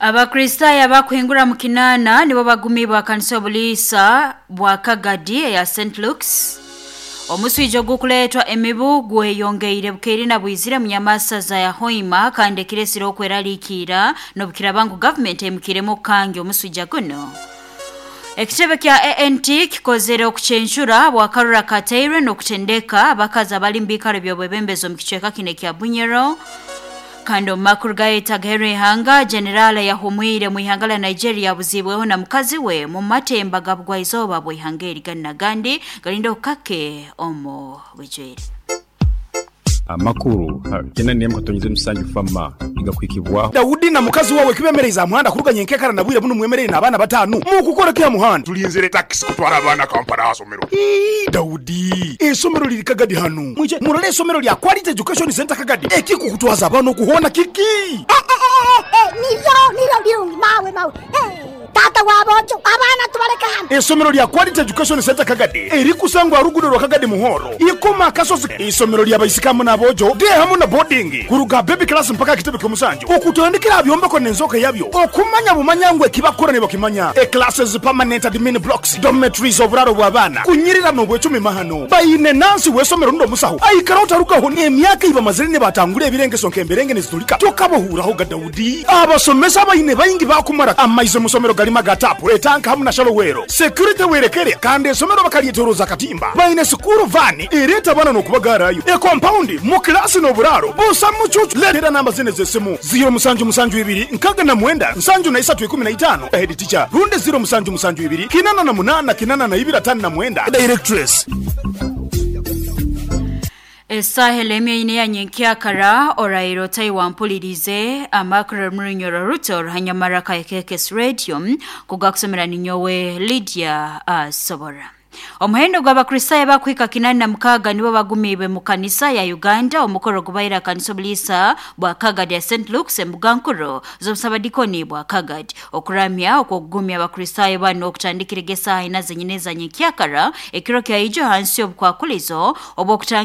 Abakristaayo abakuhingura mu kinaana nibo bagumiibwe akanisa obuliisa bwa Kagadi eya St Luke's. Omuswija ogukuleetwa emibu gweyongeire bukeire na bwizire mu nyamasaza ya Hoima kandi ekiresire okweraliikiira n'obukiraba ngu gavumenti eimukiremu okukangya omuswija guno. Ekitebe kya ANT kikozere okucencura bwakarura kateirwe n'okutendeka abakazi abali mu biikaro by'obwebembezi omu kicweka kinu ekya Bunyoro. Kandi omu makuru gaitu agaheru ihanga, General yahumwire mu ihanga lya Nigeria abuziibweho na mukazi we mu matemba ga bugwaizooba bw'ihanga eri ganu n'agandi galinde okukake omu bwijwire. Amakuru kyenda n'emwe katonyeze musanju FAMA nigakuhikibwaho. Daudi na mukazi wawe kibemereize aha muhanda kuruga nyenkekara na bwire bunu mwemereire n'abaana batanu? Mukukora ki aha muhanda? Tulinzire takisi kutwara abaana Kampala aha somero. Ii, Daudi, eisomero liri Kagadi hanu. Mwije murole eisomero lya Quality Education Centre Kagadi. Ekikukutwaza abaana oku hoona kiki? Niryo, niryo birungi mawe, mawe. Taata wa boojo, abaana tubaleke hanu. Eisomero lya Quality Education Centre Kagadi erikusangwa aha ruguudo rwa Kagadi Muhoro, Ikoma Akasozi. Eisomero lya baisiki hamu n'aboojo, day hamu na boarding, kuruga aha baby class mpaka aha kitebe ky'omusanju, okutandikira aha byombeko n'enzooka yabyo, okumanya bumanya ngu eki bakukora nibakimanya, e-classes, permanent admin blocks, dormitories, oburaaro bw'abaana, kunyirira n'obwecumi mahano. Baine nansi w'eisomero rundi omusaho aikaraho tarugaho n'emyaka ei bamazire nibatangura ebirengeso nk'emberenge nizitulika. Tokabahuuraho ga Daudi. Abasomesa abaine baingi baakumara amaizi omu somero garimu aga taapu, etanka hamu na shalowero. Security werekere kandi esomero bakaryetoroza akatimba. Baine sikuuru vaani ereeta abaana n'okubagaarayo. Ekompaundi, mu kilaasi n'oburaaro busa mucuucu. Leetera namba zinu ez'esimu, ziiro musanju musanju ibiri nkaga na mwenda nsanju na isatu ikumi na itaano, Head teacher, rundi ziiro musanju musanju ibiri kinana na munana kinana na ibiri atano na mwenda, Directress. Esaaha elemye ine ya nyenkyakara, oraire otai wampulirize amakuru omu Runyoro Ruto Ruhanyamara ka KKS Radio kugakusomera ninyowe Lydia Asobora. Omuhendo gw'Abakristaayo abakuhika 86 nibo bagumiibwe mu kanisa ya Uganda omukoro gubaire aha kanisa obuliisa bwa Kagadi ya St Luke's embuga nkuru z'obusabadikoni bwa Kagadi. Okuramya okw'okugumya Abakristaayo banu okutandikire esaaha ina zenyini eza nyenkyakara ekiro kya ijo hansi y'obukwakulizo obw'okutanga.